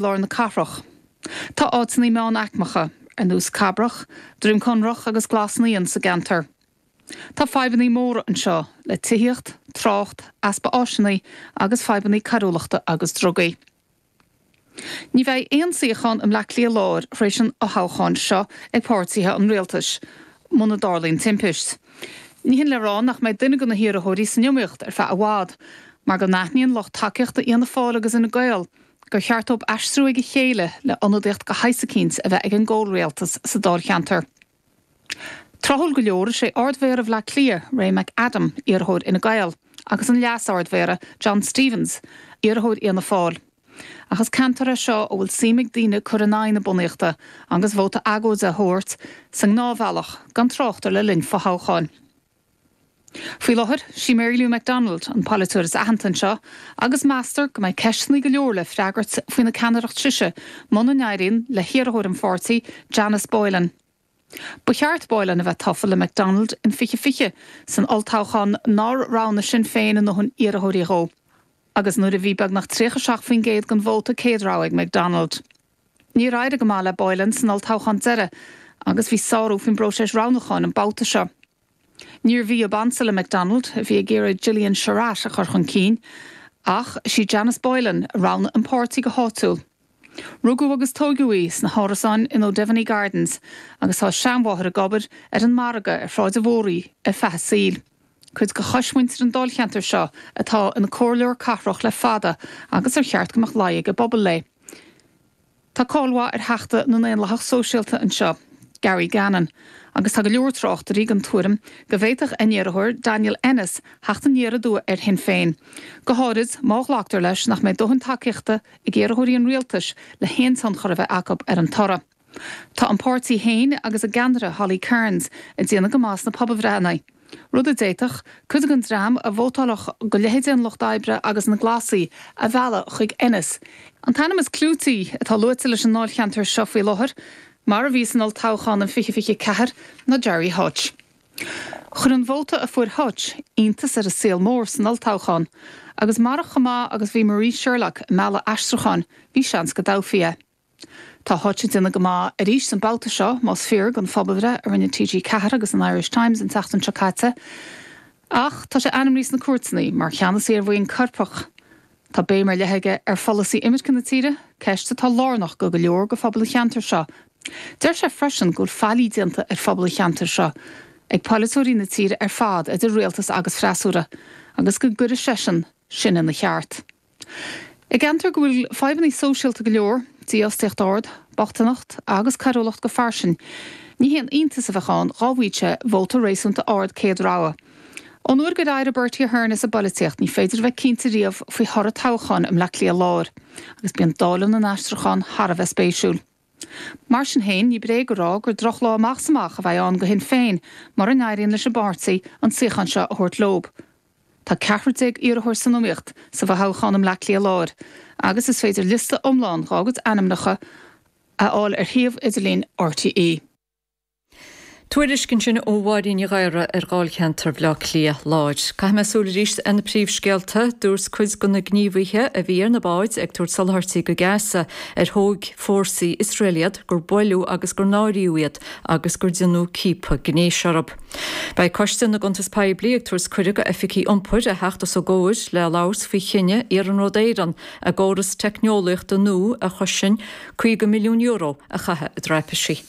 lár na cathrach. Tá áiteanna meánaicmeacha, ar nós Cabrach, Droim Conrach agus Glas Naíon sa gceantar. Tá fadhbanna móra anseo le tithíocht, trácht, easpa áiseanna agus fadhbanna coiriúlachta agus drugaí. Ní bheidh aon suíochán i mBleá Cliath Láir tar éis an fhothoghcháin seo ag páirtithe an rialtais, muna dtarlaíonn timpist. Ní hin le rá nach mbeidh duine de na hiarrthóirí san iomaíocht ar feadh i bhfad, mar go n-aithníonn lucht tacaíochta Fhianna Fáil agus Fhine Gael gur cheart dóibh aistriú ag a chéile le ionadaíocht de shaghas eicínt a bheith ag an gcomhrialtas sa dáilcheantar. Tráthúil go leor, is é Ard-Mhéara Bhaile Átha Cliath, Ray McAdam, iarrthóir Fhine Gael, agus an Leas-Ard-Mhéara, John Stephens, iarrthóir Fhianna Fáil. Ach is ceantar é seo a bhfuil suim ag daoine cur in aghaidh na bunaíochta agus vóta agóide a thabhairt sa ngnáthbhealach, gan trácht ar le linn fothoghcháin. Faoi láthair, sí Mary Lou McDonald an polaiteoir is aitheanta anseo agus meastar go mbeidh ceisteanna go leor le freagairt faoina ceannaireacht sise muna n-éiríonn le hiarrthóir an pháirtí, Janice Boylan. Ba cheart Boylan a bheith tofa le McDonald in 2020 san olltoghchán nár roghnaigh Sinn Féin a ndóthain iarrthóirí dhó agus nuair a bhí beagnach 37% den vóta céad rogha ag McDonald. Níor éirigh go maith le Boylan san olltoghchán deiridh agus bhí sárú faoin bpróiseas roghnúcháin an babhta seo. Níorbh í ab ansa le McDonald, a bhí ag iarraidh Gillian Sherratt a chur chun cinn, ach is í Janice Boylan a roghnaigh an páirtí go háitiúil. Rugadh agus tóigeadh í sna hárasáin in O'Devaney Gardens agus tá a seanmháthair ag obair ar an margadh ar Shráid an Mhóraigh ar feadh a saoil. Cuid de choismhuintir an dáilcheantair seo atá ina comhairleoir cathrach le fada agus ar cheart go mbeadh luí ag an bpobal léi. Tá cáil mhaith ar theachta na nDaonlathach Sóisialta anseo, Gary Gannon, agus tá go leor tráchtairí den tuairim go bhféadfadh a n-iarrthóir, Daniel Ennis, theacht aniar aduaidh ar Shinn Féin, go háirid má ghlactar leis nach mbeidh dóthain tacaíochta ag iarrthóirí an rialtais le haon tionchar a bheith acu ar an toradh. Tá an páirtí féin agus a gceannaire Holly Cairns ag déanamh go maith sna pobalbhreitheanna, rud a d'fhéadfadh cuid den dream a vótálfadh do leithéidí an Lucht Oibre agus na Glasaí a mhealladh chuig Ennis. An t-ainm is clúití atá luaite leis an ndáilcheantar seo faoi láthair, mar a bhí san olltoghchán in 2024, ná Gerry Hutch. Chuir an vóta a fuair Hutch iontas ar an saol mór san olltoghchán, agus marach chomh maith agus bhí Marie Sherlock ag mealladh aistriúcháin, bhí seans go dtoghfaí é. Tá Hutch ag déanamh go maith arís an babhta seo, más fíor don phobalbhreith a rinne TG4 agus an Irish Times an tseachtain seo caite. Ach tá sé ainmnithe sna cúirteanna mar cheannasaí ar bhuíon coirpeach. Tá béim ar leith aige ar pholasaí imirce na tíre, ceist atá lárnach go go leor de phobal an cheantair seo. Deir sé freisin go bhfuil faillí déanta ar phobal an cheantair seo ag polaiteoirí na tíre ar fad, idir rialtas agus freasúra, agus go gcuirfidh seisean sin ina cheart. I gceantar go bhfuil fadhbanna sóisialta go leor, dífhostaíocht ard, bochtaineacht agus coiriúlacht go fairsing, ní haon iontas a bheadh ann dhá bhfaigheadh sé vóta réasúnta ard céad rogha. Ón uair gur éirigh Bertie Ahern as an bpolaitíocht ní féidir a bheith cinnte riamh faoi thoradh toghcháin i mBleá Cliath Láir agus bíonn dáileadh na n-aistriúchán thar a bheith spéisiúil. Mar sin féin, ní bréag a rá gur drochlá amach is amach a bheidh ann do Shinn Féin mura n-éiríonn leis an bpáirtí an suíochán seo a thabhairt leob. Tá 14 iarrthóir san iomaíocht sa bhfothoghchán i mBleá Cliath Láir agus is féidir liosta iomlán dhá gcuid ainmneacha a fháil ar shuíomh idirlín RTÉ. Tuairisc ansin ó Mháirín Ní Ghadhra ar Dháilcheantar Bhaile Átha Cliath Láir. Caithfidh mé súil arís ar na príomhscéalta. Dúirt cuid de na gníomhaithe a bhí ar na báid ag tabhairt soláthairtí go Gaza ar thóg fórsaí Iosrael iad gur buaileadh agus gur náiríodh iad agus gur deineadh ciapadh gnéis orthu. Beidh Coiste na gCuntas Poiblí ag tabhairt cuireadh go oifigigh iompair a theacht os a gcomhair le labhairt faoi chinneadh Iarnród Éireann a gcóras teicneolaíochta nua a chosain €50 milliún a chaitheamh i dtraipisí.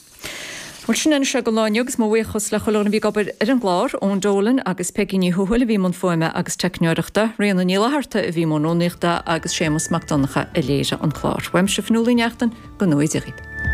Bhuel, sin anois é don lá inniu agus mo bhuíochas le chuile dhuine a bhí ag obair ar an gclár, Eoin Dolan agus Peigí Ní Thuathail a bhí i mbun fuaime agus teicneoireachta, Ríona Ní Fhlatharta a bhí i mbun rúnaíochta agus Séamus Mac Donncha a léirigh an clár. Uaimse Fionnuala Ní Neachtain, go ngnóthaí Dia dhaoibh.